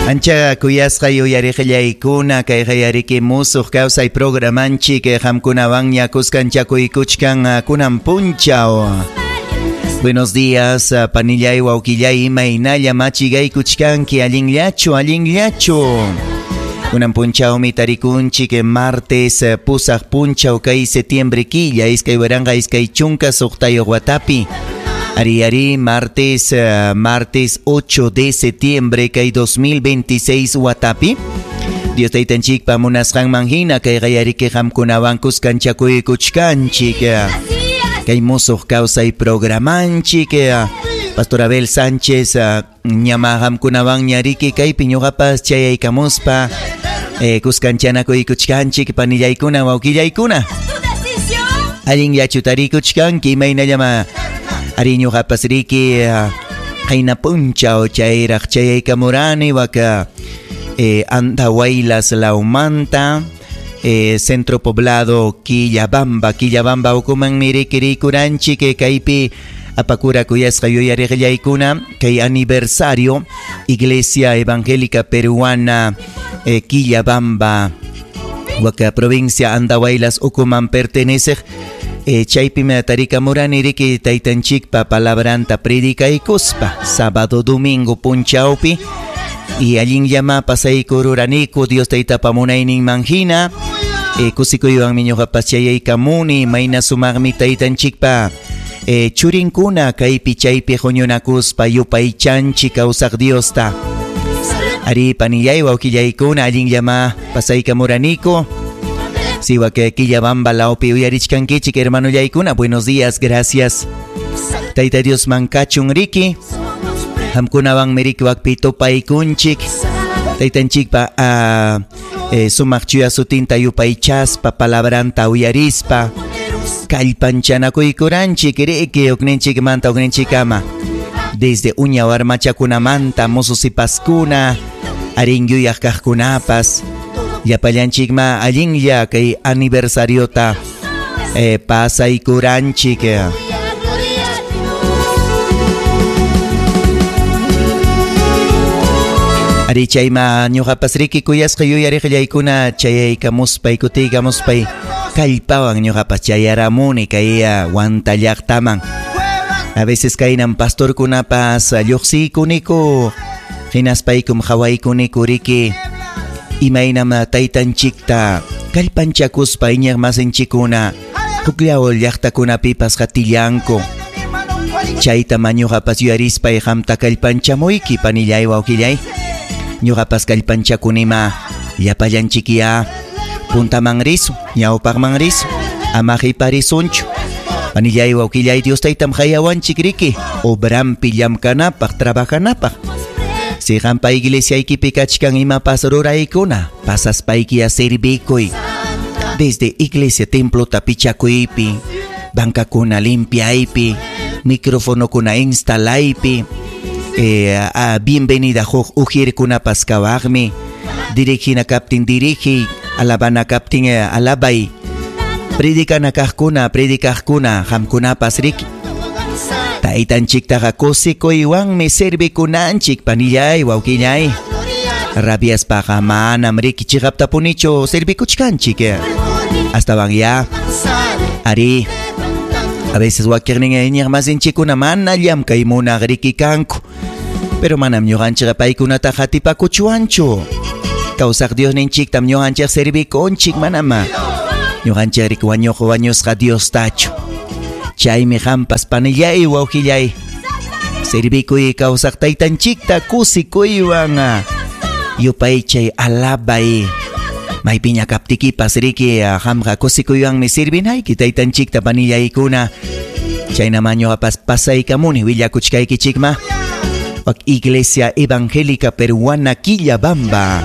Ancha kuyasqa yuyariqillaykuna kayqa yariki musuq kawsay programanchik qamkunawanña kuskanchakuykuchkan kunan punchaw. Buenos días, panillay, wawqillay, imaynalla machigaykuchkanki, allinllachu, allinllachu. Kunan punchawmi tarikunchik martes pusaq punchaw kay septiembre killa 2026 watapi. Ari ari martes martes 8 de septiembre kay 2026 watapi. Dios taytanchikpa munasqanman hina kay qayariki qamkunawan kuskanchakuykuchkanchik. Kay musuq kawsay programanchik. Pastor Abel Sánchez ñama qamkunawan ñariki kaypi ñuqapas chayaykamuspa kuskanchanakuykuchkanchik panillaykuna wawqillaykuna. Allinllachu tarikuchkanki imaynallama ari ñuqapas riki qayna punchaw chayraq chayaykamurani waka Andahuaylas lawmanta centro poblado Quillabamba Quillabamba ukumanmi riki rikuranchik kaypi apakura kuyasqa yuyariqillaykuna kay aniversario Iglesia Evangélica Peruana Quillabamba waka provincia Andahuaylas ukuman perteneceq chaypimi tarikamurani riki taytanchikpa palabranta predicaykuspa sábado domingo punchawpi y allinllama pasaykururaniku Dios taytapa munayninman hina kusikuywanmi ñuqapas chayaykamuni mayna sumaqmi taytanchikpa churinkuna kaypi chaypi huñunakuspa yupaychanchik kawsaq Diosta. Ari panillay wawqillaykuna allinllama pasaykamuraniku. Siwa que Quillabamba lawpi uyarichkankichik hermanollaykuna, buenos días, gracias. Tayta Dios mankachun riki. Qamkunawanmi riki wakpi tupaykunchik. Taytanchikpa sumaq chuya sutinta yupaychaspa palabranta uyarispa kallpanchanakuykuranchik riki ukninchikmanta ukninchikama. Desde uña warmachakunamanta mususipaskuna arin yuyaq kaqkunapas llapallanchikma allinlla kay aniversariota pasaykuranchik. Ari chayma ñuqapas riki kuyasqa yuyariqillaykuna chayaykamuspay kutiykamuspay kallpawan ñuqapas chayaramuni kay Huanta llaqtaman. A veces kaynan pastorkunapas lluqsiykuniku hinaspaykum hawaykuniku riki imaynam taytanchikta kallpanchakuspa iñiq masinchikkuna hukllaw llaqtakunapipas qatillanku. Chayta ñuqapas yuyarispay qamta kallpanchamuyki panillay wawqillay. Ñuqapas kallpanchakunima llapallanchikya puntaman risun ñawpaqman risun ama qhiparisunchu. Panillay wawqillay Dios taytam hayawanchik riki obrampi llamkanapaq trabajanapaq. Si qampa iglesiaykipi kachkan imapas ruraykuna pasaspaykiya servikuy. Desde iglesia templota pichakuypi, bancakuna limpiaypi, microfonokuna instalaypi, bienvenida huk ujirkunapas kawaqmi, dirigina kaptin dirigi, alabana kaptin alabay, predicana kaqkuna predicaqkuna qamkunapas riki. Taytanchiktaqa kusikuywanmi servikunanchik panillay wawqillay. Rabiaspaqa manam riki chiqaptapunichu servikuchkanchik. Astawan ya ari a veces wakiqnin iñiq masinchikkuna mana llamkay munaq riki kanku. Pero manam ñuqanchikqa paykunata qatipakuchwanchu. Kawsaq Diosninchiktam ñuqanchik servikunchik manama. Ñuqanchik riki wañuq wañusqa Diostachu. Chaymi qampas panillay wawqillay servikuy kawsaq taytanchikta kusikuywan yupaychay alabay. Maypiña kaptikipas riki qamqa kusikuywanmi servinayki taytanchikta panillaykuna. Chaynama ñuqapas pasaykamuni willakuchkaykichikma. Wak Iglesia Evangélica Peruana Quillabamba,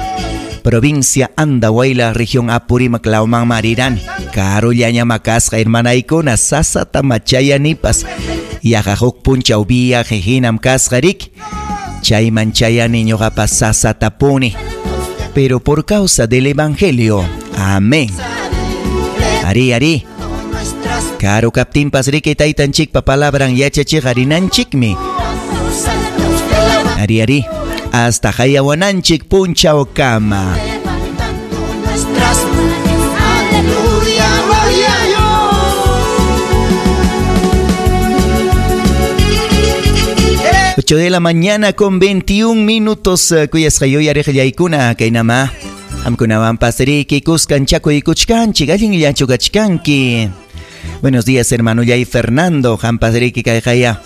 provincia Andahuaylas, región Apurímac, lawman marirani. Karullaña makasqa hermanaykuna sasata machayanipas. Yaqa huk punchaw viaje hinam kasqa riki. Chayman chayani ñuqapas sasatapuni. Pero por causa del Evangelio. Amén. Ari ari. Karu kaptinpas riki taytanchikpa palabran yachachiq arinanchikmi. Ari ari. Hasta hayawananchik punchawkama. Levantando nuestras manos, aleluya, gloria a Dios. 8 de la mañana con 21 minutos. Kuyasqa yuyariqllaykuna kaynama. Qamkunawanpas riki kuskan chakuykuchkanchik allinllachu kachkanki. Buenos días, hermano Yay Fernando. Qampas riki kayqaya.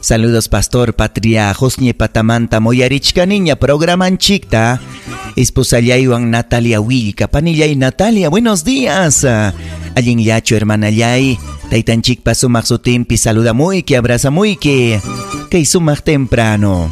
Saludos, pastor Patria Josñe Patamanta Moyarichkaniña programanchikta. Esposallaywan Natalia Willka. Panillay Natalia, buenos días. Allinllachu, hermanallay. Taytanchikpa sumaq sutinpi saludamuyki, abrazamuyki. Kay sumaq temprano.